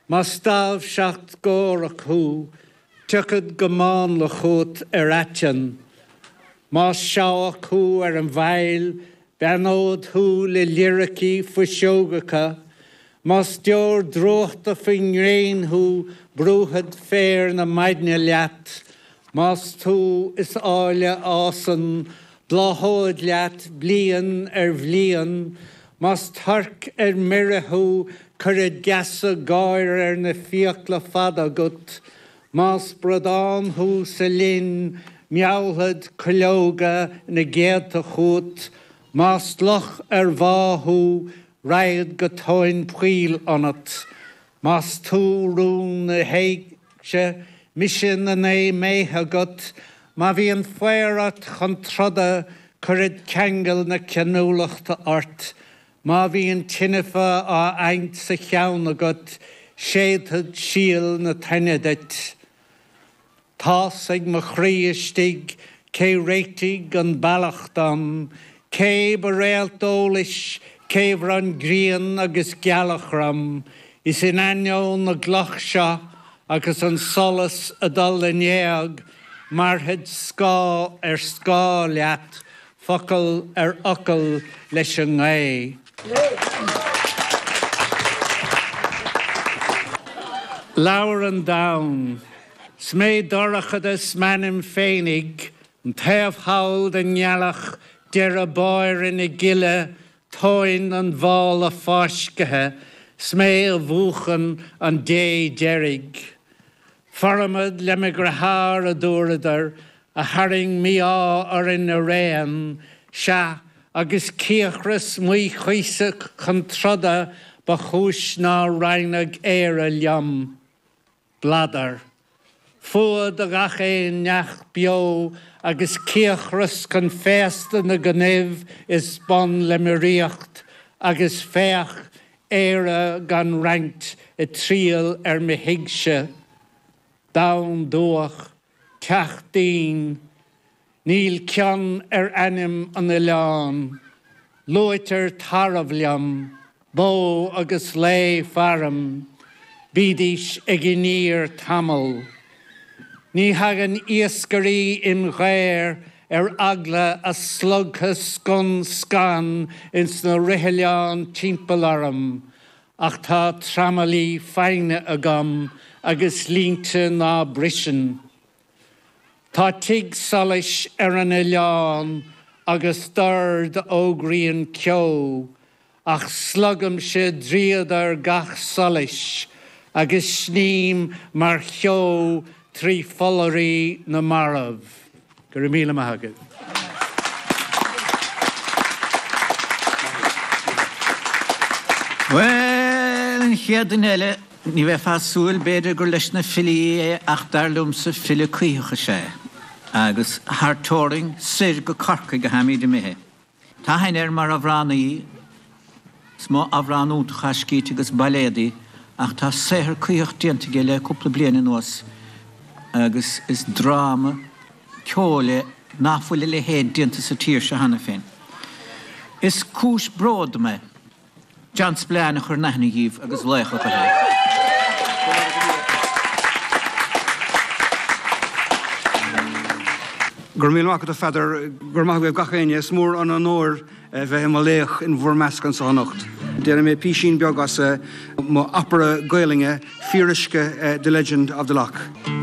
Más dáimhseacht górach thú, tiocfad go mánla chugat ar aiteann. Más seabhac thú ar an bhfaill, beannód thú le liricí fuiseogacha. Más deoir drúchta faoin ngréin thú, brúfad féar na maidne leat. Más tú is áille a fhásann, bláthód leat bliain ar bhliain. Más torc ar mire thú, cuirfead geasa gáire ar na fiacla fada agat. Más bradán thú sa linn, meallfad cuileoga na gcéadta chugat. Más luch ar bhá thú, raghad go tóin poill ionat. Más tú rún na héigse, mise na naoi mbéithe agat. Má bhíonn faobhar ort chun troda, cuirfead ceangal na cionúlachta ort. Má bhíonn tinfeadh á adhaint sa cheann agat, séidfead síol na toinne duit. Tá's ag mo chroí istigh cé réitigh an bealach dom, cé ba réalt eolais, cé bhronn grian agus gealach orm, is in ainneoin na gcloch seo agus an solas ag dul in éag, mairfead scáth ar scáth leat, focal ar fhocal leis an ngaoth. Labhair an domhan. 'S mé dorchadas m'ainm féinig, an taobh thall den ngealach, deireadh báire na gile, tóin an mhála fáiscthe, 's mé a mhúchann an dé deiridh. Formad le mo dheartháir, a dúradar, a tharraing mí-ádh orainn araon, sea, agus cíocras maothchuíosach chun troda ba chúis nár roinneadh Éire liom. Bladar. Fuath do ghach aon neach beo agus cíocras chun féasta na gcnuimh is bun le mo ríocht, agus féach, Éire gan roinnt ag triall ar mo thigse. Domhan dubhach, teach dínn. Níl cion ar ainm an oileáin. Luaitear tarbh liom, bó agus lao faram, bídís ag iníor tamall. Ní thagann iascairí im ghair ar eagla a slogtha scun scan ins na rithoileáin timpeall orm, ach tá tramaillí foighne agam agus línte ná briseann. Tá tigh solais ar an oileán agus dord a fhógraíonn ceo, ach slogaimse dríodar gach solais agus sním mar cheo trí phollairí na marbh. Go raibh míle maith agaibh. Bhuel, an chéad duine eile, ní bheifeá ag súil, b'fhéidir, gur leis na filí é ach dar liomsa file cuítheach is ea é. Agus thar teorainn, soir go Corcaigh a tháimíd imithe. Tá aithne air mar amhránaí, is mó amhrán iontach atá scríte agus bailéadaí, ach tá saothar cuítheach déanta aige le cúpla bliain anuas agus is dráma ceoil é nach bhfuil a leithéid déanta sa tír seo cheana féin. Is cúis bróid dom é. John Spillane a chur in aithne dhíbh agus laoch ab ea é. Go raibh míle maith agat a Pheadair, go raibh maith agaibh gach éinne. Is mór an onóir bheith i mo laoch in bhur measc anseo anocht. Déanfaidh mé písín beag as mo opera Gaelainne, Fíoruisce, The Legend of the Lough.